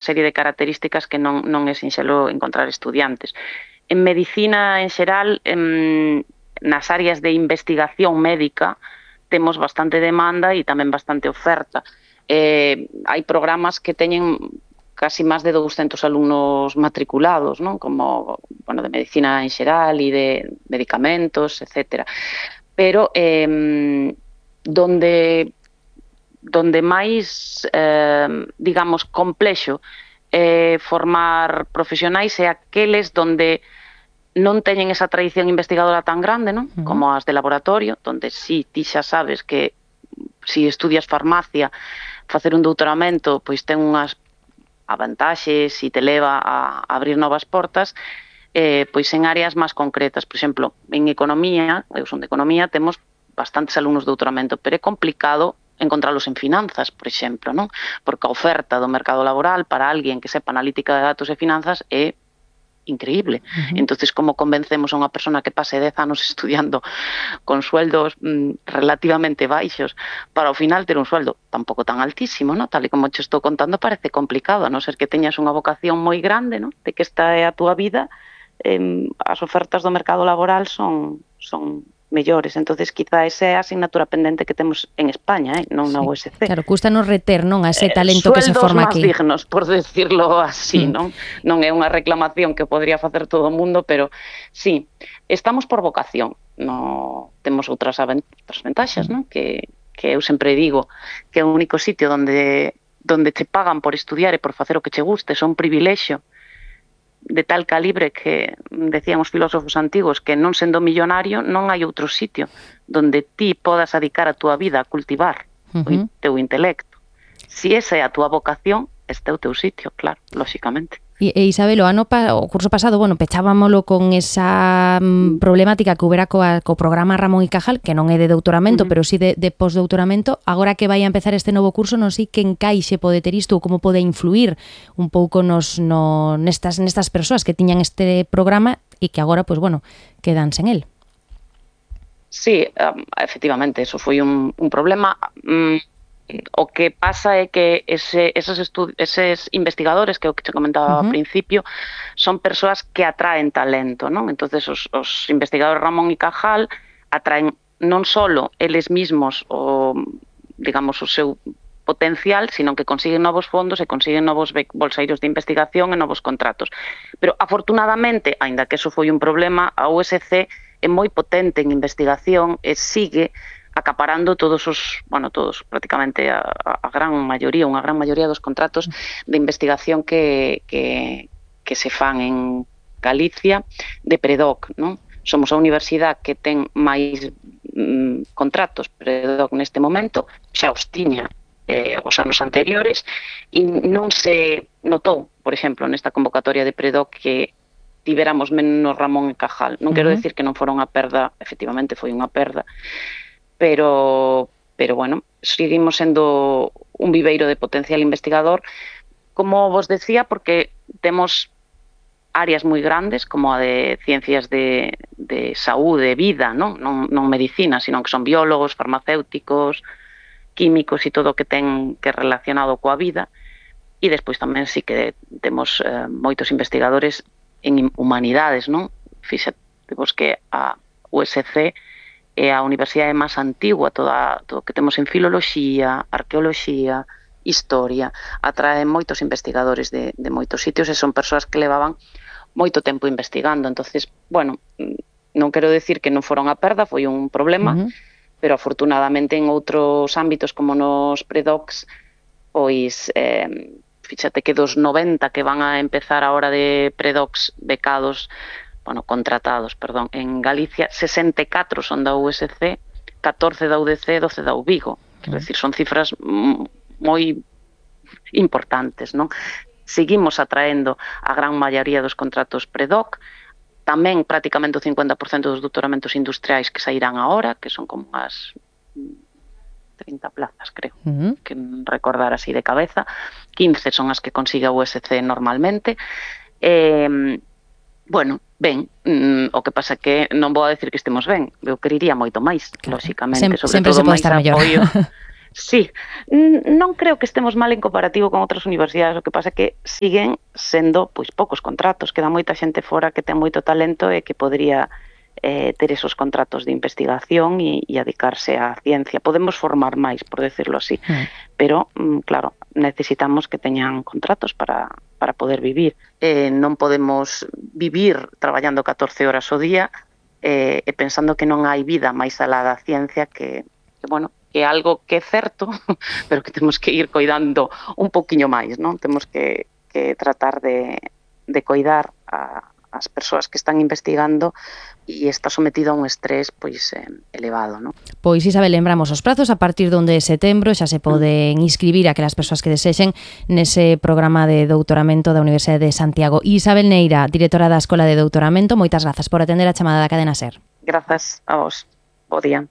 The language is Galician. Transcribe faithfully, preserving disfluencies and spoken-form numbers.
serie de características que non, non é sinxelo encontrar estudiantes. En medicina, en xeral, en, nas áreas de investigación médica, temos bastante demanda e tamén bastante oferta. Eh, hai programas que teñen casi máis de douscentos alumnos matriculados, non? Como, bueno, de medicina en xeral e de medicamentos, etcétera. Pero, eh, donde... donde máis, eh, digamos, complexo eh, formar profesionais é aqueles donde non teñen esa tradición investigadora tan grande, non? Uh-huh. Como as de laboratorio, donde sí, ti xa sabes que si estudias farmacia, facer un doutoramento, pois ten unhas avantaxes e te leva a abrir novas portas, eh, pois en áreas máis concretas. Por exemplo, en economía, eu son de economía, temos bastantes alumnos de doutoramento, pero é complicado encontralos en finanzas, por exemplo, non? Porque a oferta do mercado laboral para alguén que sepa analítica de datos e finanzas é increíble. Uh-huh. Entonces, como convencemos a unha persona que pase dez anos estudiando con sueldos mm, relativamente baixos para ao final ter un sueldo tampouco tan altísimo, non? Tal e como te estou contando, parece complicado, a non ser que teñas unha vocación moi grande, non? De que esta é a túa vida, eh, as ofertas do mercado laboral son son mellores. Entonces, quizá esa é a asignatura pendente que temos en España, eh? Non na U S C. Claro, custanos reter, non, a ese talento eh, que se forma aquí. Sueldos máis dignos, por decirlo así, mm. non? Non é unha reclamación que podría facer todo o mundo, pero sí, estamos por vocación. No, temos outras, outras ventaxas, mm. non? Que, que eu sempre digo que é o único sitio onde, onde te pagan por estudiar e por facer o que che guste, son un privilexio de tal calibre que decían os filósofos antigos que non sendo millonario non hai outro sitio donde ti podas dedicar a túa vida a cultivar uh-huh. o teu intelecto. Si esa é a túa vocación, este é o teu sitio, claro, lóxicamente. E, e Isabel, o ano pa, o curso pasado, bueno, pechábamolo con esa mm, problemática que houbera coa, co programa Ramón y Cajal, que non é de doutoramento, uh-huh. pero sí de, de postdoutoramento. Agora que vai a empezar este novo curso, non sei que encaixe pode ter isto ou como pode influir un pouco nos, no, nestas, nestas persoas que tiñan este programa e que agora, pois, bueno, quedan sen el. Sí, um, efectivamente, eso foi un, un problema. Um, O que pasa é que ese, esos, estu- eses investigadores que eu que te comentaba uh-huh. ao principio son persoas que atraen talento, non? Entonces os, os investigadores Ramón y Cajal atraen non solo eles mismos o, digamos, o seu potencial, sino que consiguen novos fondos e consiguen novos bolseiros de investigación e novos contratos. Pero afortunadamente, aínda que eso foi un problema, a U S C é moi potente en investigación e sigue acaparando todos os, bueno, todos, prácticamente a, a gran maioría, unha gran maioría dos contratos de investigación que, que, que se fan en Galicia de Predoc, non? Somos a universidade que ten máis mm, contratos Predoc neste momento, xa os tiña eh, os anos anteriores, e non se notou, por exemplo, nesta convocatoria de Predoc que tiveramos menos Ramón e Cajal. Non uh-huh. quero decir que non fora unha perda, efectivamente foi unha perda, pero, pero bueno, seguimos sendo un viveiro de potencial investigador, como vos decía, porque temos áreas moi grandes, como a de ciencias de, de saúde, vida, non? Non, non medicina, sino que son biólogos, farmacéuticos, químicos e todo o que ten que relacionado coa vida, e despois tamén sí que temos eh, moitos investigadores en humanidades, non? Fíxate vos que a U S C é a universidade máis antigua, toda, todo o que temos en filoloxía, arqueoloxía, historia, atraen moitos investigadores de, de moitos sitios e son persoas que levaban moito tempo investigando. Entonces, bueno, non quero decir que non foron a perda, foi un problema, uh-huh. pero afortunadamente en outros ámbitos como nos predocs, pois, eh, fíxate que dos noventa que van a empezar a hora de predocs becados, bueno, contratados, perdón, en Galicia, sesenta e catro son da U S C, catorce da U D C, doce da U Vigo. Quero decir, son cifras moi importantes, non? Seguimos atraendo a gran maioría dos contratos predoc, tamén prácticamente o cincuenta por cento dos doutoramentos industriais que sairán agora, que son como as trinta plazas, creo, uh-huh. que recordar así de cabeza, quince son as que consigue a U S C normalmente. Eh, bueno, ben, mm, o que pasa que non vou a decir que estemos ben, eu queriría moito máis, claro. Lóxicamente, Sem, sobre sempre todo se pode máis estar mellor. apoio. Sí, non creo que estemos mal en comparativo con outras universidades, o que pasa é que siguen sendo pois poucos contratos, queda moita xente fora que ten moito talento e que podría eh, ter esos contratos de investigación e, e dedicarse á ciencia. Podemos formar máis, por decirlo así, mm. pero, claro, necesitamos que teñan contratos para, para poder vivir. Eh, non podemos vivir traballando catorce horas ao día eh, e pensando que non hai vida máis alá da ciencia que, que bueno, que é algo que é certo, pero que temos que ir coidando un poquinho máis, non? Temos que, que tratar de, de coidar a, as persoas que están investigando e está sometido a un estrés pois eh, elevado, non? Pois, Isabel, lembramos os prazos, a partir do onde de setembro xa se poden inscribir aquelas persoas que desexen nese programa de doutoramento da Universidade de Santiago. Isabel Neira, directora da Escola de Doutoramento, moitas grazas por atender a chamada da Cadena SER. Grazas a vos. Bo día.